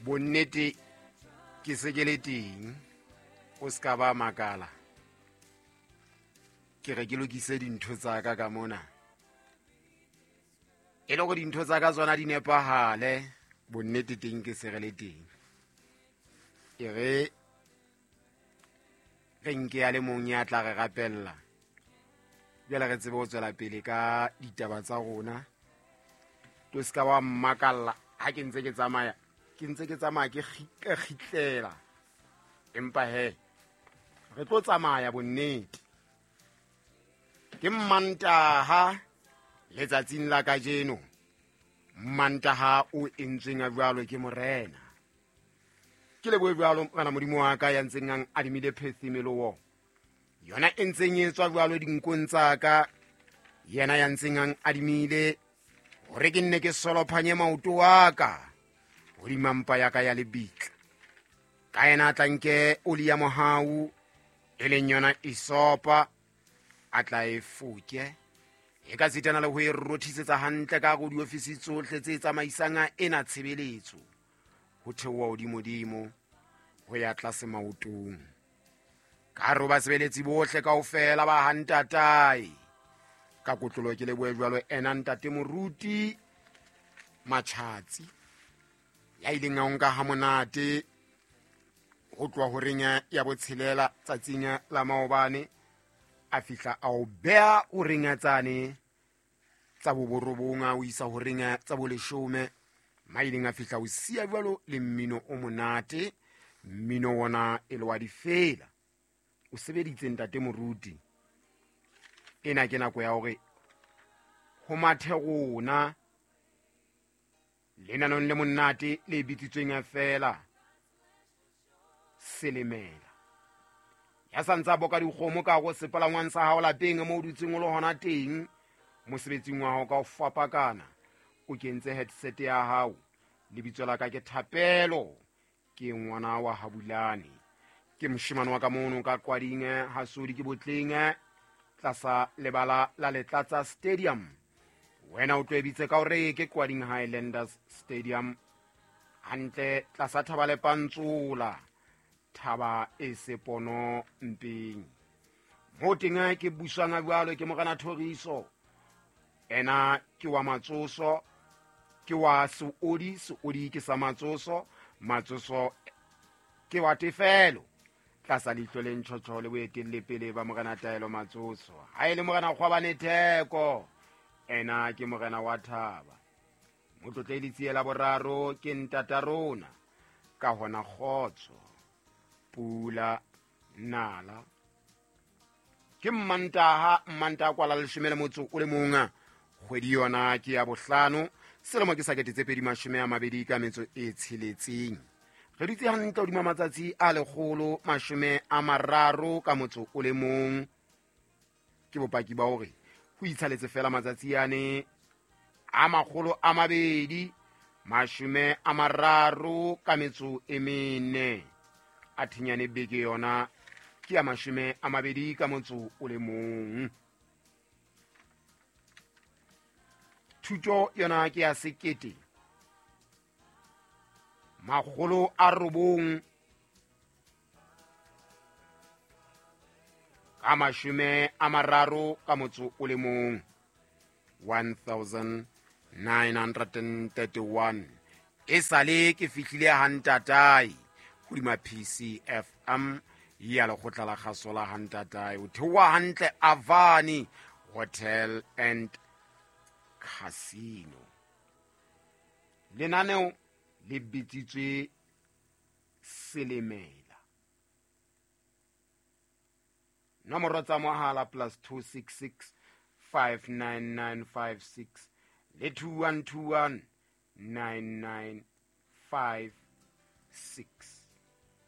Bonnete ke se ke le teng, o se ka ba makala. Ke re ke lokise dintho tsa ka ka mona, e le gore dintho tsa ka tsona di nepahale. Bonnete teng ke se re le teng. E re re nke ya le mong ya tla re rapella, jwale re tsebe ho tswela pele ka ditaba tsa rona. To se ka wa mmakalla ha ke ntse ke tsamaya, ke ntse ke tsamaya ke kgitlela, empa he re tlo tsamaya. Bonnete ke Mmantaha letsatsing la kajeno, Mmantaha o entsweng a jwalo ke Morena. Ke lebohe jwalo Morena Modimo wa ka ya ntseng ang adimile phethimelowo yona e ntseng e tswa jwalo dinkong tsa ka, yena ya ntseng ang adimile hore ke nne ke solophanye maoto wa ka hodima mpa ya ka ya lebitla. Ka yena a tla nke oli ya mohau, e leng yona isopa, a tla e foke e ka sitana le ho e rothisetsa hantle ka go diofisi tsohle tse tsamaisang ena tshebeletso, ho theoha hodimodimo ho ya tlase maotong. Ka re basebeletsi bohle kaofela ba hantatae ka kotlolo, ke lebohe jwalo ena ntate moruti Matjhatsi ya ileng a nka ha monate ho tloha horeng ya botshelela tsatsing la maobane, a fihla a o beha horeng tsane tsa boborobong, a o isa horeng tsa boleshome, ma ileng a fihla o siya jwalo le mmino o monate, mmino wona e le wa difela. O sebeditse ntate moruti. Ena ke nako ya hore ho mathe rona lenanong le monate le bitsitsweng feela Selemela. Ya sa ntse a boka dikgomo ka go sepalangwang sa hao lapeng mo o dutseng o le hona teng mosebetsing wa hao ka ho fapakana, o kentse headset ya hao. Lebitso la ka ke Thapelo, ke ngwana wa Habulane, ke moshemane wa ka mono ka Qwading Hasodi, ke Botleng tlasa lebala la Letlatsa Stadium. Wena o tlo e bitse ka hore ke Qwading Highlanders Stadium, hantle tlasa thaba le Pantsola, thaba e sepono mpeng mo teng. Ke buswang jwalo ke Morena Thoriso, ena ke wa Matsoso, ke wa Seodi, Seodi ke sa Matsoso, Matsoso ke wa Tefelo, tlasa leihlo le ntjhotjho le boetellepele ba Morena Taelo Matsoso. Ha e le Morena Kgwabane Theko, ena ke morena wa thaba. Motlotle letsie la boraro ke ntata rona. Ka hona kgotso pula nala. Ke Mmantaha, Mmantaha kwala 11 kgwedi yona ke ya bohlano, selemo ke sa 2026. Re dutse hantle hodima matsatsi a 131. Ke bopaki ba hore ho itshaletse fela matsatsi ane a 234, a thinyane beke yona ke ya 21. Thuto yona ke ya 1931, 1931. E sale ke fihlile hantatae hodima PCFM ya lekgotla la kgaso la hantatae, o theoha hantle Avani Hotel and Casino. Lenaneo le bitsitswe Selemela. Nomoro tsa mohala +266 59956 le 2121 9956.